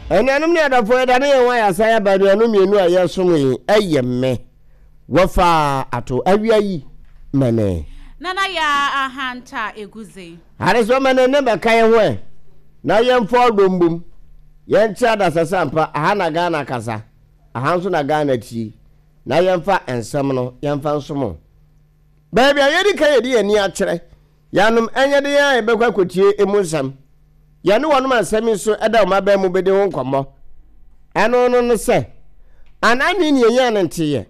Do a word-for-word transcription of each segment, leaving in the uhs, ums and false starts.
Anuanom ne adɔfoɔ, yɛda ne yɛn ho ayɛ asan aba. Anuanom mmienu a yɛsom yi, ɛyɛ me wɔfa ato awia yi mɛne Nana Yaa Ahanta Eguze. Adesoa mɛne ne bɛka yɛn ho ɛ na yɛmfa ɔdɔ mbom yɛnkyɛ adasasa mpa. Aha na Ghana kasa, aha nso na Ghana tie, na yɛmfa nsɛm no yɛmfa nsom baabi a yɛdi ka. Yɛde yɛn ani akyerɛ yɛanom ɛnyɛ de yɛn a yɛbɛkɔ akɔtie emu nsɛm. Yɛne wɔnom asɛm yi nso ɛda wɔn abɛn mu bɛdi ho nkɔmmɔ. Ɛno no no sɛ anani ne yɛnya no nteeɛ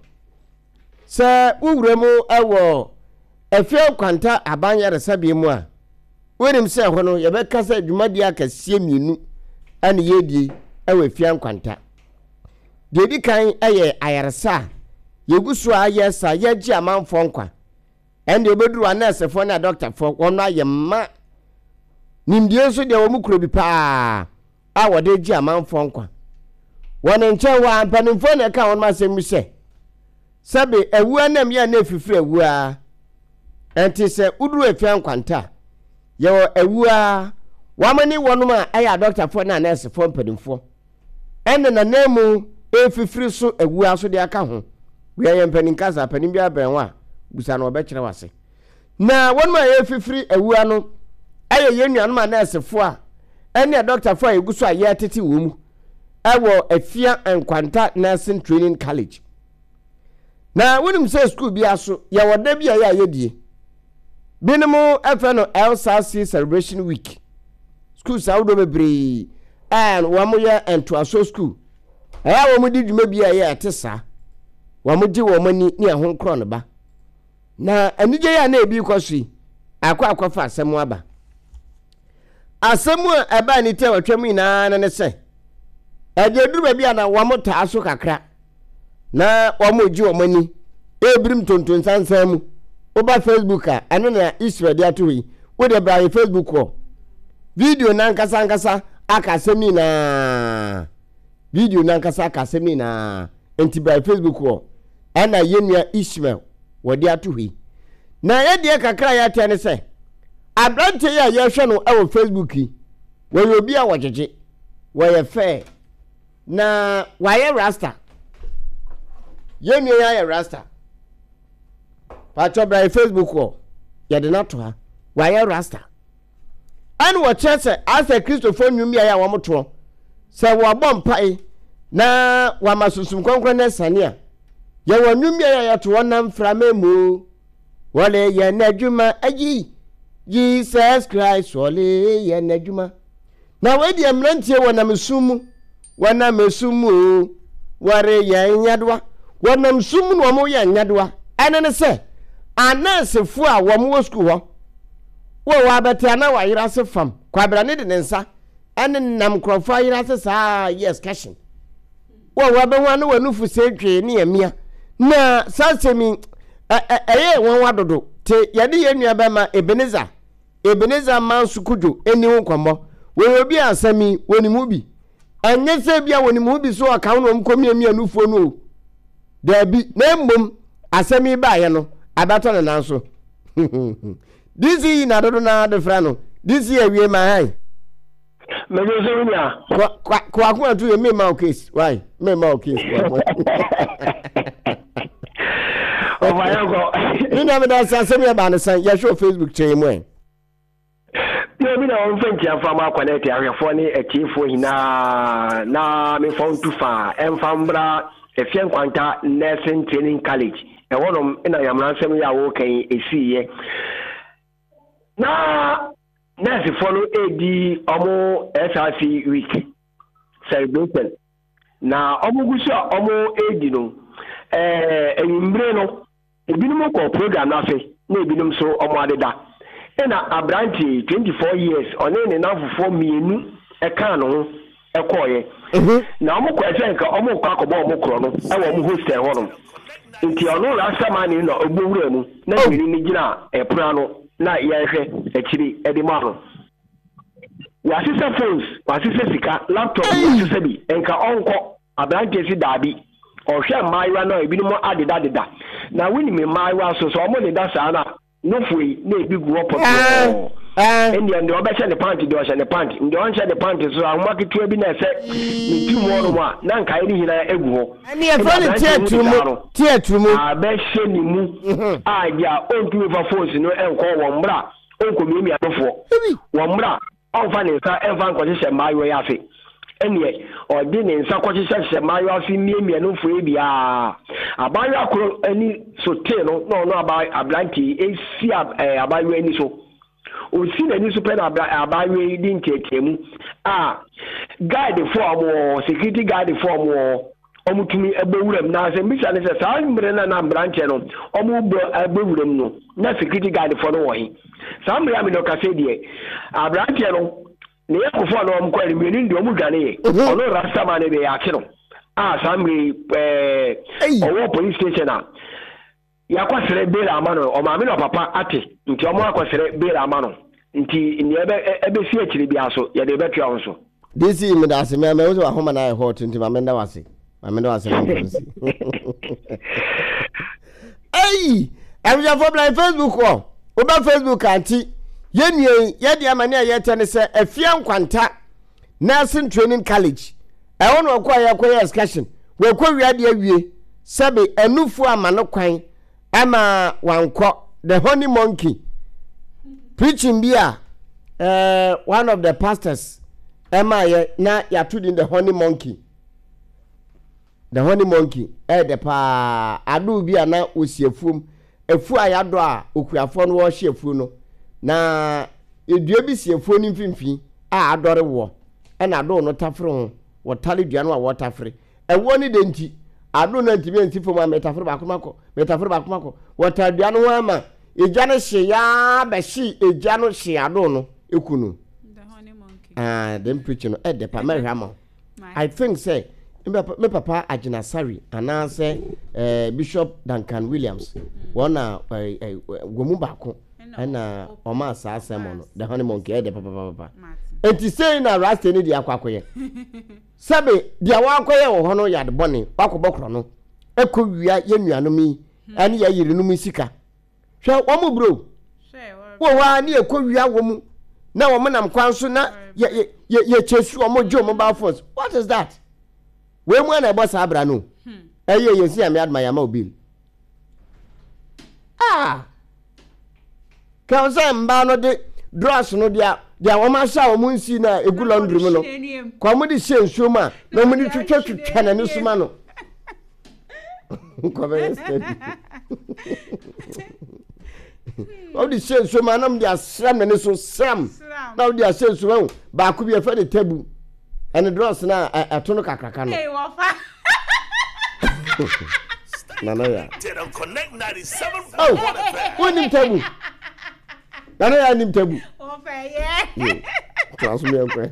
sɛ wowura mu ɛwɔ Afia Nkwanta aban yaresabea mu a, wonim sɛ ɛhɔ no yɛbɛka sɛ dwumadie akɛseɛ mmienu ɛne yɛdie ɛwɔ Afia Nkwanta. Deɛ ɛdi kan ɛyɛ ayaresa a yɛgu so a yɛ sa yɛgye amanfoɔ nkwa. Ɛnde wobɛduru anɛɛsefoɔ ne adɔktafoɔ, wɔn ayɛ mma nimdeɛ nso deɛ wɔn kuro bi paa a wɔde gye amanfoɔ nkwa. Wɔn nkyɛn hɔ a, mpanimfoɔ na ɛka wɔn asɛm mu sɛ sɛbe awua nam yɛ na efifiri awua. Ɛnti sɛ woduru Afia Nkwanta a, yɛwɔ awua wɔn ne wɔnom a ɛyɛ adɔktafoɔ ne anɛɛsefoɔ mpanimfoɔ ɛna nanan mu efifiri so awua so de aka ho. Wia yɛ mpanin kasa, panin bi abɛn hɔ a busa na ɔbɛkyerɛ wase. Na wɔnom a yɛfifiri awua no ɛyɛ yɛn nuanom anɛɛsefoɔ a ɛne adɔktafoɔ a yɛgu so a yɛtete wɔn mu ɛwɔ Afia Nkwanta Nursing Training College. Na wonim sɛ sukuu bi aso yɛwɔ da bi a yɛ a yɛdie binom ɛfɛ no L S R C Celebration Week. Schools ahodoɔ bebree a wɔn yɛ ntoasoɔ school, ɛyɛ a wɔn di dwuma bi a ɛyɛ ɛte saa, wɔn gye wɔn ani ne ɛho nkorɔ no ba. Na anigye yi a na ebi kɔ so yi akɔ akɔfa asɛm aba. Asɛm a ɛbaa ne ti a wɔtwa mu nyinaa no ne sɛ ɛdeɛ duru baabi a na wɔn taa so kakra na wɔn gye wɔn ani ebirim tontonsansan mu. Woba Facebook a, ɛno na Israel de ato hɔ yi. Wode bra yɛ Facebook hɔ, video nankasa ankasa aka asɛm nyinaa. Video nankasa aka asɛm nyinaa, nti bra yɛ Facebook hɔ. Ɛna yɛn nua Ishmael wɔde ato hɔ yi. Na yɛdeɛ kakra a yɛatɛ ne sɛ aberanteɛ yi a yɛhwɛ no wɔ Facebook yi, wɔyɛ obi a wɔgyegye, wɔyɛ fɛɛ na wayɛ rasta. Yɛn nua yi ayɛ rasta. Patwɔ, bra yɛ Facebook hɔ, yɛde no ato ha. Wayɛ rasta ɛne wɔkyerɛ sɛ asɛ Kristofoɔ nnwom bi a yɛ a wɔn toɔ sɛ wɔabɔ mpae na wɔama Sunsum Kɔnkɔn no asiane a, yɛwɔ nnwom bi a yɛ yɛto wɔn nam mframa mu, wɔle yɛ n'adwuma ayi Jesus Christ, wɔle yɛ n'adwuma. Na wɔadi mmeranteɛ wɔnam sum mu, wɔnam sum mu o, wɔreyɛ nyadoa, wɔnam sum mu na wɔyɛ nyadoa. Ɛne ne sɛ anɛɛsefoɔ a wɔn wɔ sukuu hɔ wɔ wɔ abɛte ana wɔayere ase fam kwabrane de ne nsa ɛne nam nkurɔfoɔ ayere ase saa yɛ excursion wɔ wɔ abɛho ano wɔ nufu sɛ dwee ne ɛmia. Na saa asɛm yi ɛyɛ wɔn wa dodo te. Yɛde yɛn nua bɛma Ebenezer Ebenezer Manso Kodwo ɛni ho nkɔmmɔ. Wɔyɛ obi a asɛm yi wɔnim ho bi. Ɛnyɛ sɛ bi a wɔnim ho bi so ɔka ho na wɔn kɔ miamia nufuo no o, daabi, na mmom asɛm yi baayɛ no abɛtɔ ne nan so. D C yi na dodo naa de frɛ no D C awie ma han. Mɛjọ sɛ wonya. Kwako atu yɛ mema o case why mema o case. Ɔfa yɛnkɔ. Ne nua, meda sɛ asɛm yɛ baa ne sɛn yɛhwɛ wɔ Facebook kyerɛ mu ɛ. Yɛ bi na wɔmfa nkyia mfa ma akwanɛte ahwɛfoɔ ne atiefoɔ nyinaa na memfa ntu fa ɛmfa mbra Efie Nkwanta Nursing Training College. Ɛhɔnom na nyameransɛm yi a wɔreka yi ɛsiiɛ na nursefoɔ no ɛredi ɔmo S R C week celebration na ɔmo gu so a ɔmo ɛredi no. ɛɛ enwummere no, ebinom kɔ program no ase na ebinom nso ɔmo adeda. Ɛna aberanteɛ twenty four years ɔne ne nanfofoɔ mmienu ɛkaa ne ho ɛkɔɔyɛ na ɔmo kɔ ɛsɛ nka ɔmo kɔ akɔbɔ ɔmo korɔ no ɛwɔ ɔmo hostel hɔnom. Nti ɔno rastaman na ɔbɔ wura mu na mmienu no gyina ɛpono ano na yɛrehwɛ akyiri ɛde ma no. Wasesa phones, wasesa sika, laptop, wasesa bi nka ɔnkɔ. Aberanteɛ si daabi, ɔhwɛ mmaayewa no a ebinom adedadeda na wonim mmaayewa nso sɛ ɔmo deda saa na nofo yi na ebi gu hɔ pɔtɔɔ. Ɛndeɛ deɛ ɔbɛhyɛ ne pant deɛ ɔhyɛ ne pant, deɛ ɔnhyɛ ne pant so ahoma ketewa bi na ɛsɛ ne tirim hɔ nom a na nkaeɛ no nyinaa egu hɔ. Ɛne yɛfrɛ no teatrumu teatrumu. Abɛhyɛ ne mu a deɛ ɔntumi fa phones no nkɔ wɔn mmerɛ a ɔnkɔmiamia nofoɔ wɔn mmerɛ a ɔmfa ne nsa ɛmfa nkɔhyehyɛ mmaayewa yi ase. Ɛneɛ ɔde ne nsa kɔhyehyɛhyehyɛ mmaayewa ase miamia nofoɔ yi biara. Abaayewa koro ani so tee no na ɔno aberante yi esi abaayewa ani so. Osi n'ani so pɛ na abaayewa yi di nteateamu a guard fo a wɔwɔ security guard fo a wɔwɔ wɔn tumi bɔ wuram. Na asɛm bisa ne sɛ saa mmerɛ na na mmeranteɛ no wɔn bɔ bɔ wuram no na security guard fo no wɔ he? Saa mmerɛ a mi na ɔkasa deɛ, aberanteɛ no ne yɛ kofo a na wɔn kɔ mmienu deɛ wɔn dwane yɛ. Ɔno rastaman no deɛ yɛakye no a saa mmerɛ yi ɛɛ ɔwɔ police station a yɛakɔsrɛ bail ama no. Ɔmaame na ɔpapa ate nti ɔmo akɔsrɛ bail ama no, nti nea ɛbɛ ɛbɛsi akyire biara so yɛde bɛtoa ho so. D C, meda ase. Mɛ mɛ wo sɛ wahoma no ayɛ hot nti ma menda wase, ma menda wase na mfa nsi. Ei, abusuafoɔ, bla Facebook hɔ. Woba Facebook anti yɛnnua yi yɛde ama ne a yɛtɛ ne sɛ Afia Nkwanta Nursing Training College ɛhɔ na ɔkɔ a yɛkɔyɛ excursion. Wɔkɔ wia de awie sɛbe anufoɔ ama no kwan ama wankɔ. The Honey Monkey preaching bi a uh, one of the pastors ɛma yɛ na yɛato din The Honey Monkey. The Honey Monkey ɛyɛ dɛ paa. Adoo bi a na wɔsi afuom, afuo a yɛadɔ a okuafoɔ no wɔrehyɛ afuo no, na edua bi si afuo no mfimfini a adɔre wɔ, ɛna adoo no tafere ho. Wɔtare dua no a wɔtafere ɛwoɔ no de nti adoo no ntumi ansi fam a metafere baako makɔ, metafere baako makɔ. Wɔtare dua no ho ama egya no hye yaa bɛhye egya no hye adoo no eku no. Ah, dem preaching no ɛdɛ pa. Mɛhwɛ ama wo. I think sɛ me papa Agyinasare anaasɛ eh, Bishop Duncan Williams, wɔn na eh, eh, wɔn mu baako ɛna ɔma saa sermon no, The Honey Monkey. Ɛdɛ papapapa. Nti sei na rasta ni deɛ akɔ akɔyɛ sɛbe deɛ wakɔyɛ wɔ hɔ no yɛ ade bɔne. Wakɔbɔ korɔ no ɛkɔ wia yɛ nuanom yi ɛne yɛ yerenom yi sika. Hwɛ wɔn mu bro wɔ hɔ a ne yɛkɔ wia wɔ mu na wɔn nam kwan so na yɛ yɛ yɛ yɛkyɛ su wɔn gye wɔn mobile phones. What is that? Wei mu ana ɛbɔ saa abira no ɛyɛ yɛn si Nyame adoma yɛama obil ah kɛn sɛ mbaa no de drugs no deɛ deɛ wɔn ahyɛ a wɔn nsi na egu laundry mu no kɔ wɔn de hyɛ nsuo mu a na wɔn de twitwa twitwa n'ani so ma no nkɔbɛyɛ steady. Wɔn de hyɛ nsuo mu a na wɔn de asram n'ani so sram na wɔn de ahyɛ nsuo mu. Baako bi yɛfɛ de tabu ɛne drugs na ɛto no kakraka no. Nana ya oh, wonim tabu? Nana ya nim tabu toa so miɛnkɔ.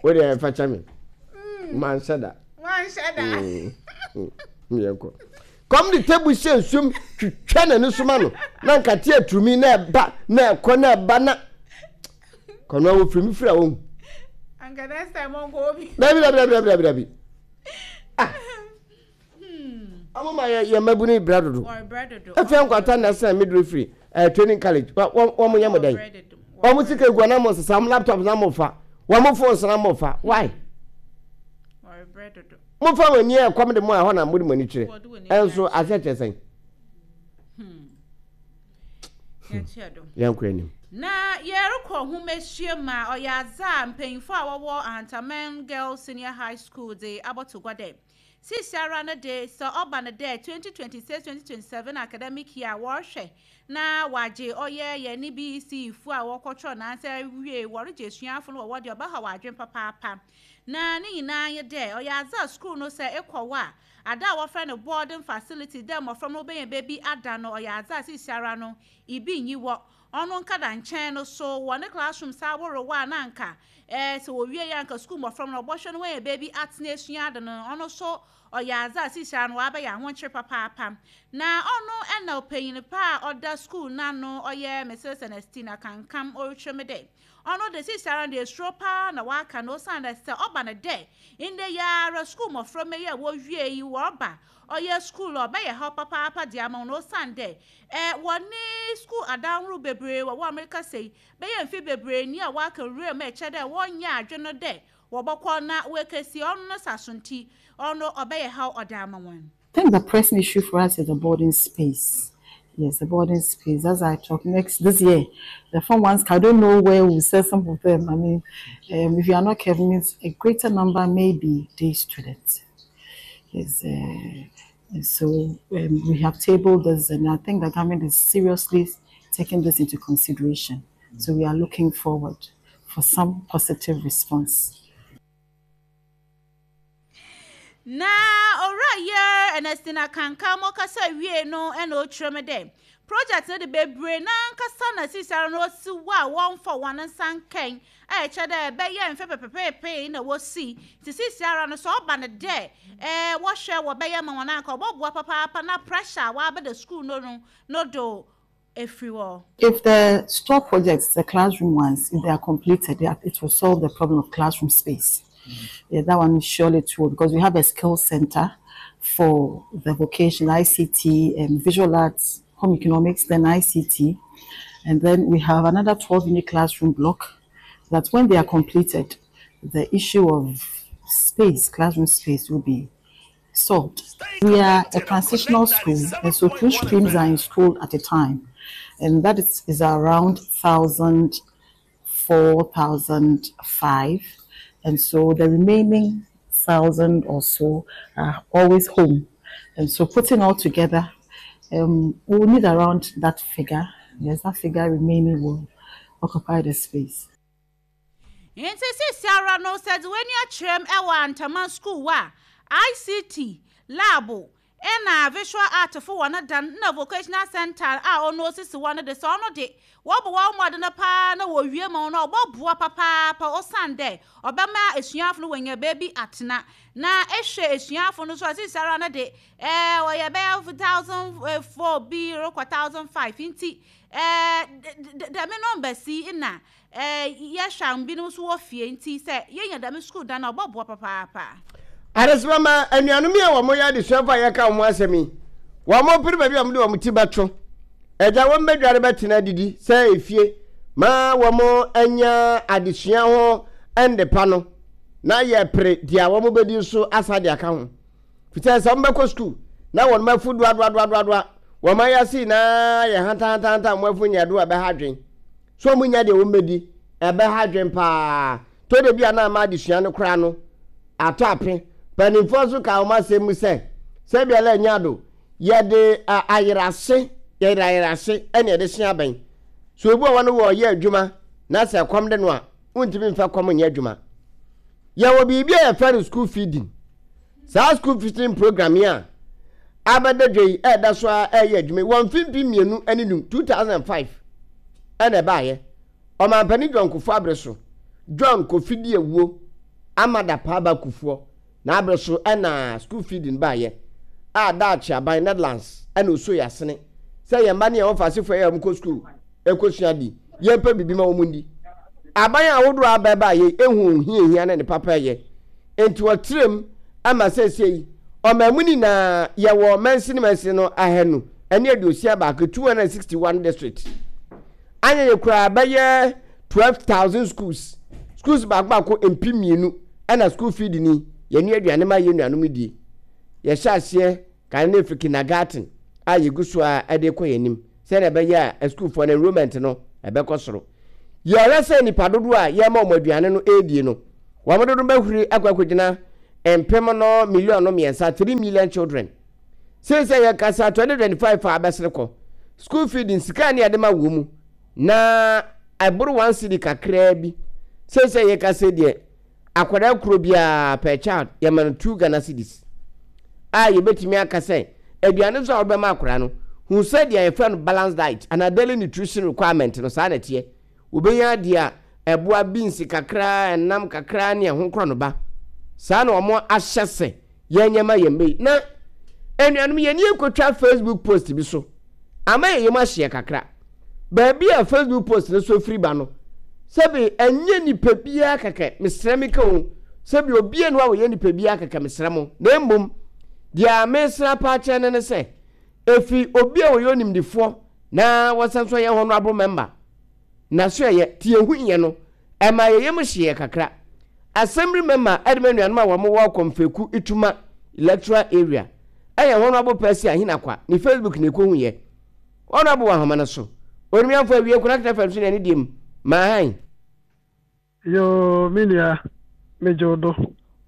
Wode ɛfa kyɛ me, manhyɛ da miɛnkɔ. Kɔm de tabu hyɛ nsuom twitwa n'ani so ma no na nkate aturumi na ɛba na ɛkɔ na ɛba na kɔnɔ a wɔfiri mi firi a wɔhu. Dabi, dabi, dabi, dabi, dabi. Ah, ɔmo ma yɛ yɛ mmabunu brɛ dodo. Efia Nkwanta na ɛsɛn midwifery ɛɛ training college. Wɔn wɔn yɛ mo dɛn? Wɔn sika egu na mo sesa wɔn laptop na mo fa wɔn phones na mo fa. Why mo fa wɔn ani ɛkɔm de mo a ɛhɔ na mo de mo ani kyerɛ ɛnso ahyɛ kyerɛ sɛn? Yɛn kɔ anim. Na yɛrekɔ ahomasua mu a ɔyɛ adze a mpanyinfo a wɔwɔ Ahantaman Girls Senior High School de abɔto gua dɛ sisiara no de sɛ ɔba no dɛ twenty twenty-six twenty twenty-seven academic year a wɔrehwɛ na wagye ɔyɛ yɛn ne B E C fo a wɔkɔtwerɛ nansɛ wie wɔregye asuafo no wɔwɔ deɛ ɔbɛha wɔ adwene papaapa. Na ne nyinaa nye dɛ ɔyɛ adze a school no sɛ ekɔ hɔ a ada a wɔfrɛ no boarding facility dɛ mmɔfra no wɔbɛnya baabi ada no ɔyɛ adze a sisiara no ibi nyi wɔ ɔno nkada nkyɛn no so wɔ ne classroom saa ahorow a na anka ɛɛ sɛ wɔwie yɛ anka sukuu mmɔfra no ɔbɔhwɛ no wɔyɛ baabi atena esua ade no ɔno so. Ɔyɛ adze a sisia no wabɛyɛ ahokyere papaapa. Na ɔno ɛna ɔpanyin pa a ɔda school n'ano, ɔyɛ Missus Ernestina Kankam, ɔretwerɛ mu dɛ ɔno de sisia no de esuro paa na waka no, ɔsan dɛ sɛ ɔba no dɛ ndɛ yara school mmɔframma yi a wɔwie yi wɔreba ɔyɛ school a, ɔbɛyɛ ha papaapa de ama wɔn, ɔsan dɛ ɛɛ wɔne school adanhoro bebree wɔ wɔn Amerika sɛ bɛyɛ mfe bebree ni a waka nwura mu a ɛkyɛ dɛ wɔnyɛ adwene dɛ wɔbɛkɔ na wɔakɛsi ɔno no saso, nti ɔno ɔbɛyɛ ha ɔde ama wɔn. I think the pressing issue for us is the boarding space. Yes, the boarding space. As I talk next this year, the form ones, I don't know where we'll send some of them. I mean, um, if you are not careful, means a greater number may be day students. Yes, uh, and so um, we have tabled this, and I think the government is seriously taking this into consideration. So we are looking forward for some positive response. Na owura yɛ Ernestina Kankam ɔkasa wie no, ɛna ɔtwerɛ mu dɛ project no de bebree n'ankasa na sisia no osi wɔ a wɔmfa wɔn nsa nkɛn a ɛkyɛ dɛ ɛbɛyɛ mfe pɛpɛpɛɛpɛɛ na wɔsi, nti sisi ara no sɛ ɔba no dɛ ɛɛ wɔhwɛ wɔbɛyɛ ma wɔn anka ɔbɛboa papaapa na pressure a wɔabɛda school no no no do efiri hɔ. If the store projects, the classroom ones, if they are completed, it will solve the problem of classroom space. Yeah, that one surely true, because we have a skill center for the vocation, I C T, and visual arts, home economics, then I C T. And then we have another twelve unit classroom block that when they are completed, the issue of space, classroom space, will be solved. We are a transitional school, and so two streams are in school at a time. And that is, is around thousand four thousand five. And so the remaining thousand or so are always home. And so putting all together, um, we will need around that figure. Yes, that figure remaining will occupy the space. Nti sisi ara no, sɛ de w'ani akyerɛm ɛwɔ Antama school a, I C T lab ɛna visual art fo wɔ no dan na vocational center a ɔno osisi wɔ no de, sɛ ɔno de wɔbɔ wɔn mmɔden no paa na wɔwie ma no, ɔbɛboa papaapa, ɔsan dɛ ɔbɛma esuafo no wɔnya beebi atena. Na ehwɛ esuafo no so a, sisi ara no de ɛɛ ɔyɛ bɛyɛ thousand four bi rekɔ thousand five, nti ɛɛ dɛm number si na ɛɛ yɛhwɛ a binom nso wɔ fie, nti sɛ yɛnya dɛm school dan na ɔbɛboa papaapa. Adesemama anuanom yi a wɔn yɛ adesuafo a yɛka wɔn asɛm yi, wɔn pere baabi a wɔde wɔn ti bɛto agya, wɔn bɛdware bɛtena didi sɛ efie ma wɔn anya adesua ho ndepa no, na yɛ pere deɛ wɔn bɛdi nso asa de aka ho, fitaa sɛ wɔn bɛkɔ sukuu na wɔn afu doadoadoadoa, wɔn ayɛ ase nyinaa yɛ hantanhantanta, wɔn afu nyɛ do a ɛbɛha adwen so, wɔn nya deɛ wɔn bɛdi ɛbɛha adwen paa to de bi a na ama adesua no koraa no atɔ ape. Mpanimfoɔ nso ka wɔn asɛm mu sɛ sɛbi anya do yɛde ayerase, yɛde ayerase ɛna yɛde se abɛn so. Obi wɔ hɔ no wɔ ɔyɛ adwuma na sɛ kɔm de no a, wontumi mfa kɔm nyɛ adwuma. Yɛwɔ biribi a yɛfrɛ no school feeding. Saa school feeding program yi a abɛda dwa yi, ɛɛda so a ɛyɛ adwuma yi wɔn mfimfin mmienu ne num, two thousand and five, ɛna ɛbaayɛ. Ɔmampanin John Kufuor abere so, John Kofi Diawuo Amada Paaba Kufuor na abere so ɛna school feeding baayɛ a daakye aban Netherlands ɛna oso yɛ asene sɛ yɛn mba ne yɛn wɔfa asefoɔ yɛ wɔn kɔ school ɛkɔsua di, yɛmpɛ biribi ma wɔn di. Aban ahodoɔ a abɛɛba yɛ ehu ohia hia ne ne papa yɛ, nti wɔtrɛm ama sɛsɛ ɔman mu nyinaa yɛwɔ mansini mansini no ahanu ɛne aduosia baako, two hundred and sixty one district. Anya yɛ koraa bɛyɛ twelve thousand schools, schools baako baako mpem mmienu ɛna school feed ni yɛne aduane ma yɛ nuanom die. Yɛhyɛ aseɛ kan ne firi kindergarten a yɛgu so a ɛde kɔ yɛn anim sɛdeɛ ɛbɛyɛ a sukuufoɔ no enrollment no ɛbɛkɔ soro. Yɛrɛ sɛ nipa dodoɔ a yɛma wɔn aduane no ɛredie no, wɔn dodo bɛhuri akɔ akɔgyina mpem no million no mmiɛnsa, three million children. Seesei yɛkasa twenty twenty five a abɛsere kɔ, school feeding sika ne yɛde ma wɔ mu na ɛboro one cedi kakraa bi. Seesei yɛkasa deɛ, akwadaa kuro biara, per child, yɛma no two Ghana cedis a yɛbɛtumi aka sɛ aduane nso a wɔbɛma akwadaa no hu sɛ deɛ yɛfrɛ no balance diet anaa daily nutrition requirement no, saa na ɛteɛ. Wobɛnya adeɛ a ɛboa, beans kakra, ɛnam kakra ne ɛho korɔ no ba. Saa na wɔn ahyɛ sɛ Yɛnyɛ ma yɛn bɛyi na anuanom yɛn ni ekotwa Facebook post bi so ama yɛn yɛm ahyeɛ kakra. Baabi a Facebook post no so firi ba no, sɛbi ɛnyɛ nipa biara kɛkɛ, mesrɛ mi ka o, sɛbi obiara no a wɔyɛ nipa biara kɛkɛ, mesrɛ mo. Na mmom deɛ mesrɛ pa akyerɛ ne ne sɛ efi obi a wɔyɛ onimdifoɔ na wɔsan so yɛ honourable member na so yɛ tie hu yɛ no, ɛma yɛyɛ mu hyeɛ kakra. Assembly member ɛde ma nuanom a wɔn wɔ Kɔmfɛku Ituma Electoral Area, ɛyɛ Honourable Percy Ahinakwa ne Facebook na ekohu yɛ. Honourable wɔ ahoma no so, onumiafo awie Konakita F M so na ɛne diem maahan. Yo, me nua, megye wo do.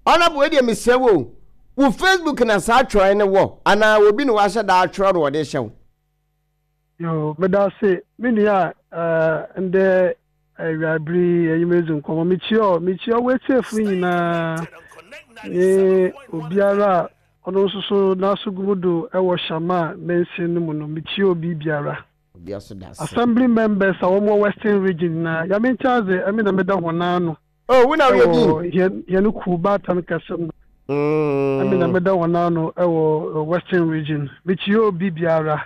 Honourable, wei deɛ mesrɛ wo, wo Facebook na saa atwerɛ ne wɔ anaa obi na wahyɛ da atwerɛ no wɔde hyɛ wo? Yo, meda ase, me nua. uh, ndɛ awiabere enyim edzi nkɔmmɔ, mekyia mekyia woetiefo nyinaa ne obiara a ɔno nso so n'aso gu mu do ɛwɔ Shama mansin no mu no, mekyia obi biara. Obi aso da ase. Assembly members a wɔwɔ Western Region na yame nkyɛn ɛmi na meda wɔn ano. Oh, wo na woyɛ bi? Ɛwɔ yɛn yɛn kuw baatan kɛse mu. Ɛmi na meda wɔn ano ɛwɔ Western Region. Mekyia obi biara,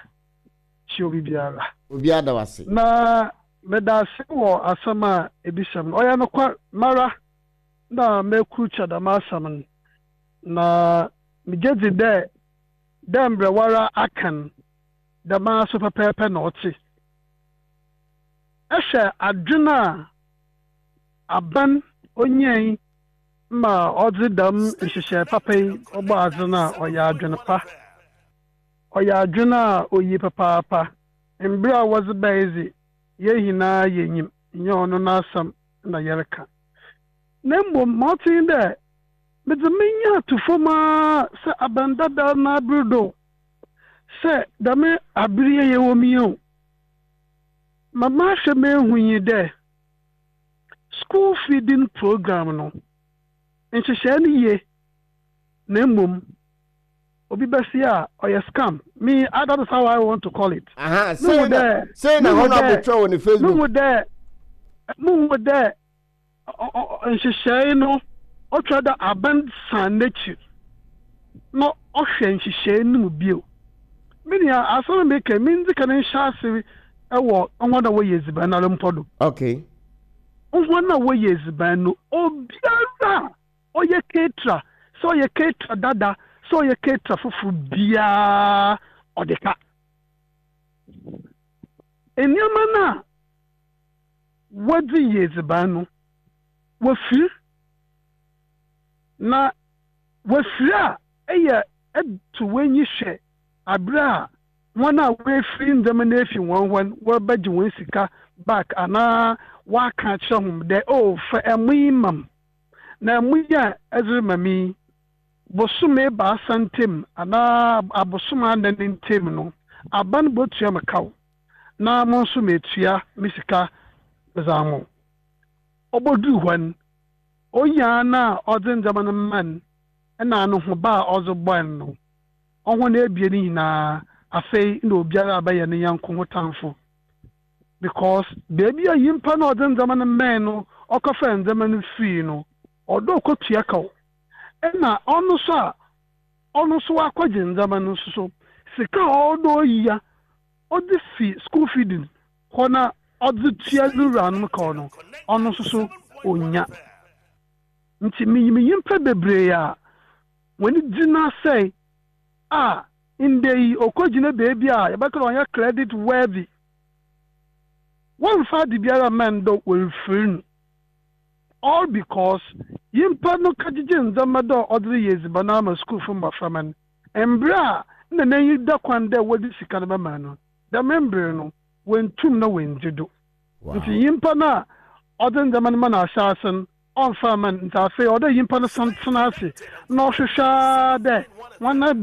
kyia obi biara. Obi ada wase. Na meda ase wɔ asɛm a ebisɛm no, ɔyɛ nokwar mara na mekurukyɛ dɛm asɛm no, na megye dzi dɛ dɛ mbrɛ wara aka no, dɛm ara so pɛpɛɛpɛ na ɔte. Ɛhwɛ adwen a aban onyae ma ɔdze dɛm nhyehyɛe papa yi ɔbɔ adze no a, ɔyɛ adwen pa, ɔyɛ adwen a oyi papaapa. Mbrɛ a wɔdze bae dze, yɛn nyinaa yɛnyim, nyɛ ɔno n'asɛm na yɛreka, na mmom ma ɔte nye dɛ medze menya ato fam ara sɛ aban dada n'aber do, sɛ dɛm aber yi yɛwɔ mu yi o, ma mahwɛ mehu yi dɛ school feeding program no nhyehyɛe no yie, na mmom obi bɛsi a ɔyɛ scam. Me, ah, that is how I want to call it. Aha, sei na sei na honourable twerɛ wɔ ne Facebook. Muhu dɛ muhu dɛ nhyehyɛe no ɔtwa dɛ aban san n'ekyir na ɔhwɛ nhyehyɛe no mu bio. Me nua, asɛm a meka, mindzi kan nhyɛ ase ɛwɔ hɔn a wɔyɛ edziban no ara mpo do. Okay hɔn a wɔyɛ edziban no, obiara a ɔyɛ caterer, sɛ ɔyɛ caterer dada, sɛ ɔyɛ caterer foforɔ biara, ɔde ka nneɛma no a wɔdze yɛ edziban no, wɔfiri na wɔfiri a ɛyɛ ɛto w'enyi hwɛ abere a wɔn a wɔafiri ndzɛmba no efi wɔn hɔ no, wɔbɛgye wɔn sika back anaa wɔaka akyerɛ hom dɛ, "Oh, fa ɛmo yi ma m na ɛmo yi a ɛdze rema me yi, bosome ebaasa ntam anaa abosom anan ntam no, aban botua me kaw na mo nso metua me sika medze ama wo." Ɔbɔduru hɔ no, onyaa no a ɔdze ndzɛmba no ma no ɛna ano ho ba a ɔdze bɔe no, ɔho no ebien nyinaa afei na obiara abɛyɛ ne yanko ho tamfo, because beebi a nyimpa na ɔdze ndzɛmba no mɛn no, ɔkɔfa ndzɛmba no fii no, ɔdɔ ɔkɔtua kaw, ɛna ɔno nso a ɔno nso wakɔgye ndzɛmba no nso so sika a ɔdɔ oyia ɔdze fi school feeding hɔ na ɔdze tua ne wuranom kaw no, ɔno nso so onya. Nti minyim nyimpa bebree a wɔn gyina sɛe a ndɛ yi ɔkɔgyina beebi a yɛbɛka dɛ ɔnyɛ credit worthy, wɔmfa ade biara mma ndɔ wɔmfiri no, all because nyimpa no kagyegye ndzɛmba dɛ ɔdze reyɛ edziban ama sukuufo mbɔframba no, mbrɛ a nna n'enyi da kwan dɛ wɔdze sika no bɛma no, dɛm mber no wɔntum na wɔndzi do. Nti nyimpa no a ɔdze ndzɛmba no ma no ahyɛ ase no, ɔmfa ama no. Nti afei ɔdɛ nyimpa no san tena ase na ɔhwehwɛ ara dɛ wɔn